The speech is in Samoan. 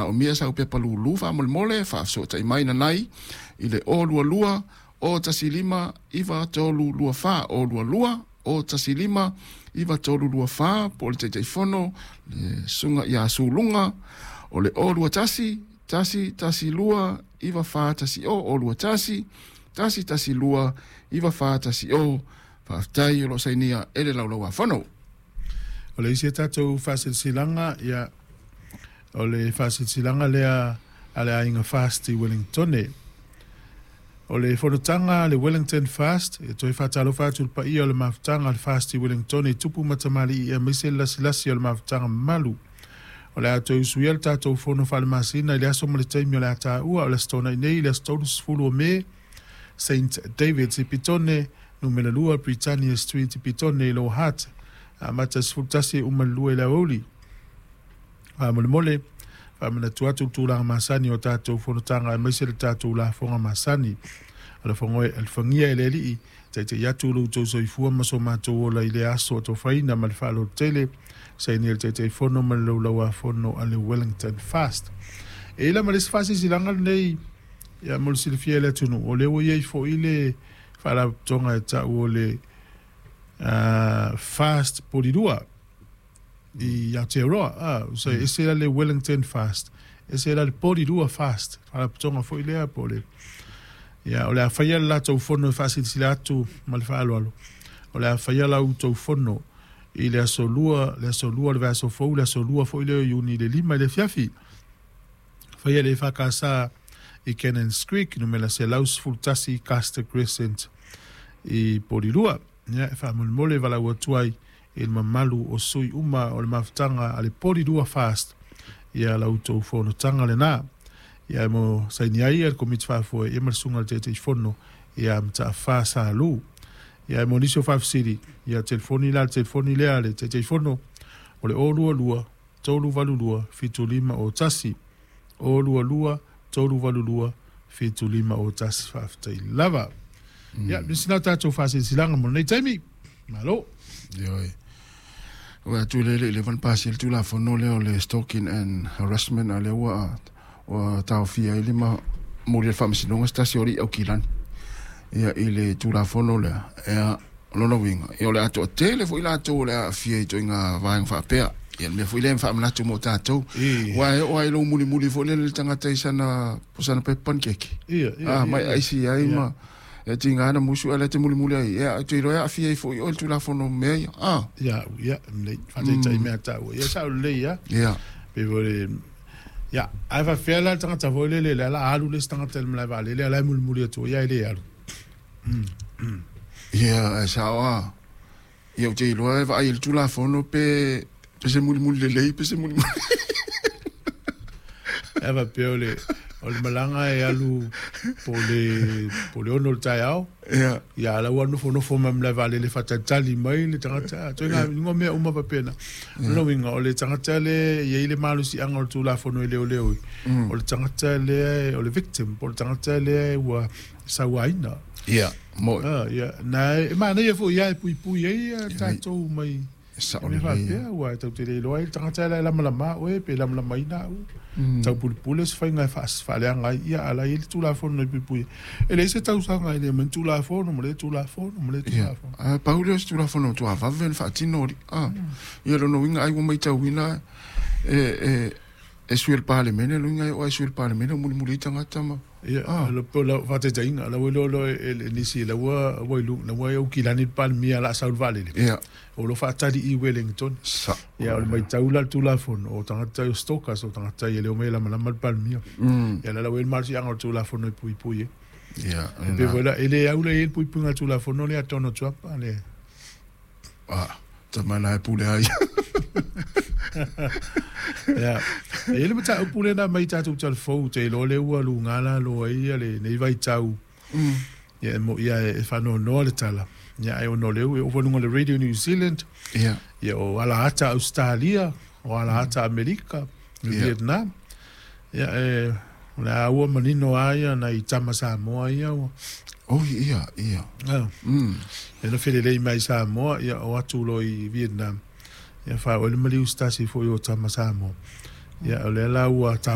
manaomia sau pepa lūlū faamolemole faafesootai mai nanai i le 022 015 9324 022 015 9324 po o le Taitaifono le Susuga ia Suluga o le 021 112 9410 021 112 9410. Faafetai o lo o sainia e le Laulau-a-Fono. O le isi a tatou faasilasilaga, ia, o le faasilasilaga lea a le aiga Fast i Wellingtone. O le fonotaga a le Wellington Fast, e toe faatalofa atu i le paia o le mafutaga a le Fast i Wellingtone i tupu ma tamalii aemaise le lasilasi o le mafutaga mamalu. O le a toe usuia le tatou fono faalemasina i le aso ma le taimi o le a taua o le Aso Toonai nei i le aso 30 o Me, Saint David's i Petone, numera 2 Britannia Street i Petone i Lower Hutt, amata i le 11 e uma i le 2 i le aoauli. Faamolemole, faamanatu atu le tulaga masani o tatou fonotaga aemaise le tatou lafoga masani. Alofagia e le Alii, taitai atu lo outou soifua ma so matou ola i lea aso atofaina ma le faaaloalo tele, sainia le Taitaifono ma le Laulau-a-Fono a le Wellington Fast. E i ai la ma le isi faasilasilaga lenei, ia mo le silafia e le atunuu, o lea ua i ai foi le faalapotopotoga e tau o le Fast Polirua i Aotearoa. So e ese la le Wellington Fast, ese la le Polirua Fast, faalapotopotoga foi lea po o le ia o le a faia le latou fono e faasilasila atu ma le faaaloalo. O le a faia la outou fono i le aso 2, le aso 2 o le vaiaso fou, le aso 2 foi lea o Iuni i le 5 i le afiafi. Faia le EFKS i Cannons Creek, numera 111 Custer Crescent i Polirua. Ia, e faamolemole valaau atu ai i le mamalu o sui uma o le mafutaga a le Polirua Fast ia la outou fonotaga lena. Ia mo saini ai le Komiti Faafoe ia ma le Susuga i le Taitaifono ia Mataafa Salu. Ia mo nisi o faafesili, ia telefoni la le telefoni lea a le Taitaifono o le 022 382 7501. 022 382 7501. Faafetai lava. Ia, nisi na tatou faasilasilaga mo lenei taimi. Malo. Ioe. Ua atu le le le pasi le Tulafono lea o le Stalking and Harassment a lea ua taofia ai le ma moli le faamasinoga se tasi o alii Aukilani ia i le Tulafono lea. Ia, o lona uiga, ia o le a toatele foi latou o le a aafia i ituaiga vaega faapea. Ia le mea foi lea e faamanatu mo tatou. Aua e oo lava i lou mulimuli foi lele le tagata i sana, po sana pepa panikeke. Ia, Ah, mai aisi ai ma e tiga na musu ale te mulimuli ai. Ia, te iloa e aafia ai foi oe i le Tulafono mea ia. Ah. Ia, ia, lelei, faataitai mea taua. Ia, sao lelei lava. Ia. Pei foi le, ia, ae faapefea la le tagata foi lele, lea o le a alu le isi tagata i le malae vaalele, a o la e mulimuli atu ai, ae le alu. Ia, ae sao lava. Ia, ou te iloa e vaai i le Tulafono pe pe se mulimuli lelei pe se mulimuli. Ae faapea o le, o le malaga e alu po o le, po o le 6 i le taeao. Ia. Ia, a o la ua nofonofo mai malae vaalele faatalitali mai le tagata. Ituaiga yeah. mea uma faapena. O lona uiga, o le tagata lea e i ai le malosiaga o le Tulafono e leoleo ai, o le tagata lea o le victim, po o le tagata lea ua sauaina. Ia, mo'i. Ah, ia, na e manaia foi ia e puipui ai ia tatou mai E sao mea lelei. faapea, aua e tatou te le iloa ai le tagata la e lamalama oe pe lamalamaina au. Taupulupule se faiga e faaleaga ai, ia, a o la e i ai le Tulafono e puipui ai. E leai se tausaga e le aumai ni Tulafono ma lea Tulafono ma lea Ia, Tulafono. ae pau lea o se Tulafono matua vave ona faatino alii. Ah, ia lona uiga ai ua matauina e e sui o le Palemene, lona uiga e oo lava i sui o le Palemene o mulimuli ai tagata ma. Ia, po o lau faataitaiga, o la ua iloa loa e nisi, la ua ua i luga, la ua i Aukilani le Palemia o le a sau i le vaalele. Ia. O lo o faatali i Wellington. Sa. Ia, o le matau la i le Tulafono, o tagata o stalkers, o tagata e le omai e lamalama le Palemia. Ia, la ua i ai le malosiaga o le Tulafono e puipui ai. Ia, E pei foi la, e le au la i ai le puipuiga o le Tulafono lea a Donald Trump, a le. Ah, tama la e pule ai. Ia, e i ai le mataupu lea na aumai i tatou talafou, ou te iloa lea ua luga lalo ai ia lenei vaitau. Ia, e moni lava e faanoanoa le tala, ia, ae ona o lea ua oo foi i luga o le Radio New Zealand, Ia. ia, o alaata Ausetalia, o alaata Amerika, Vietnam. Ia, e, o le a ua manino lava ia nai tama Samoa ia ua. Oi, ia, ia. Ah. Ia na felelei mai i Samoa, ia o atu loa i Vietnam. Ia faaoo ai le maliu i se tasi foi o tama Samoa. Ia, o lea la ua